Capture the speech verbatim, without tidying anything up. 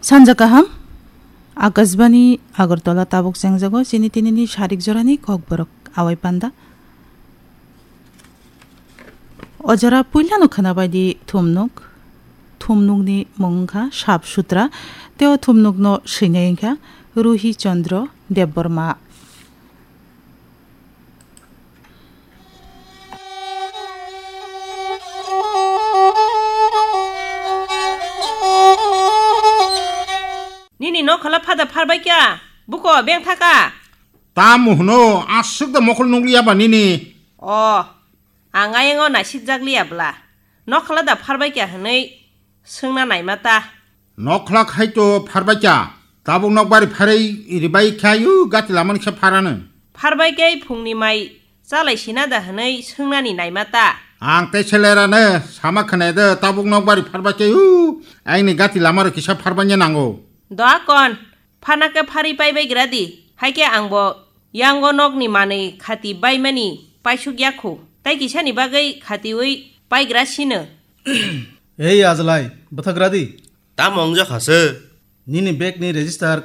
Sanja kaham, Akashbani Agartala tabuk chengjago chini tinini sarik jorani kokborok awai panda. O jora puilano khwnabaidi thumnuk, thumnukni mung wngkha Sap Sutra, tei o thumnukno swinai wngkha Ruhi Chandra Debbarma. Nini nokhola phada pharbai kya? Buko beng thaka? Tamo hwno, aswk da mokol nukliya ba nini? O, ang ayang o naisik jak liya bla. Nokhola da pharbai kya hwnwi swngna naima ta. Nokhola khai to pharbai kya? Tabuk nokbari pharwi ribai khayu gati lamani kisa pharano. Pharbai khe phungni mai chalai sina da hwnwi swngnani naima ta. Ang tei selerano sama khwnai de tabuk nokbari pharbai khayu aini gati lamaro kisa pharbanya nango. Doa kon, phana khe pharwi pai bai gra di. Hai khe ang bo yango nokni manwi khati baimani paisuk yakhu. Tai kisani bagwi khatiwi pai gra sino. Ei Ajlai, bwthak gra di. Tamo wngjakha se? Nini bag ni register